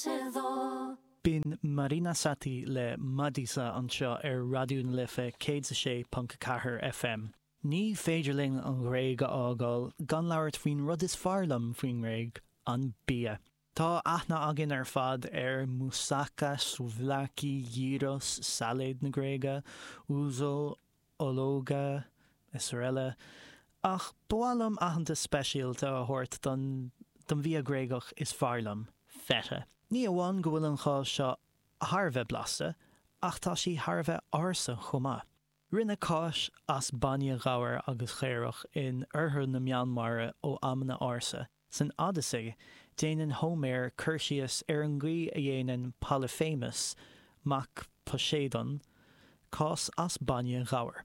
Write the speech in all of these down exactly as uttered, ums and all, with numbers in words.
Σε δω B'in Marina Satti le Madisa anseo ar Raidió na Life céad a sé ponc ceathair FM. Ní féidir linn an Ghréig a fhágáil gan labhairt faoin rud is fearr liom faoin nGréig, an bia. Tá aithne againn ar fad ar moussaka, souvlaki, gyros, sailéad na Gréige, ouzo, ológa, is araile. Ach ba mhaith liom aitheantas speisialta a thabhairt don don bhia Gréagach is fearr liom, feta. Ní amháin go bhfuil an cháis seo thar a bheith blasta, ach tá sí thar a bheith ársa chomh maith. Rinneadh cáis as bainne ghabhair agus chaorach in oirthear na Meánmhara ó amanna ársa. San Odyssey, déanann Hóiméar cur síos ar an gcaoi a dhéanann Polyphemus, mac Poseidon, cás as bainne ghabhair.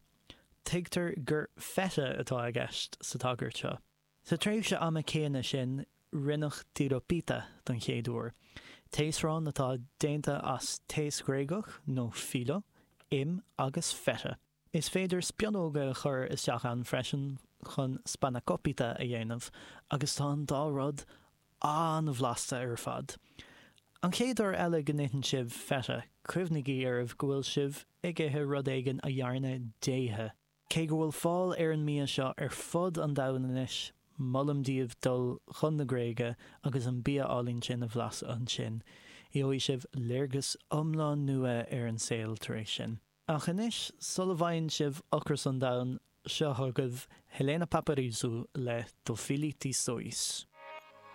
Tuigtear gur feta atá i gceist sa tagairt seo. Sa tréimhse ama céanna sin, rinneadh tiropita don chéad uair, taosrán atá déanta as taos Ghréagach nó filo, im agus feta. Is féidir spionóga a chur isteach ann freisin chun spanakopita a dhéanamh agus tá an dá rud an-bhlasta ar fad. An chéad uair eile go n-itheann sibh feta, cuimhnígí oraibh go bhfuil sibh ag ithe rud éigin a dhearna déithe. Cé go bhfuil fáil ar an mbia seo ar fud an domhain anois, molaim daoibh dul chun na Gréige agus an bia álainn sin a bhlaiseadh ansin. Gheobhaidh sibh léargas iomlán nua ar an saol tar éis sin. Ach anois, sula bhfaigheann sibh ocras an domhain, seo chugaibh Helena Paparizou le To Fili Tis Zois.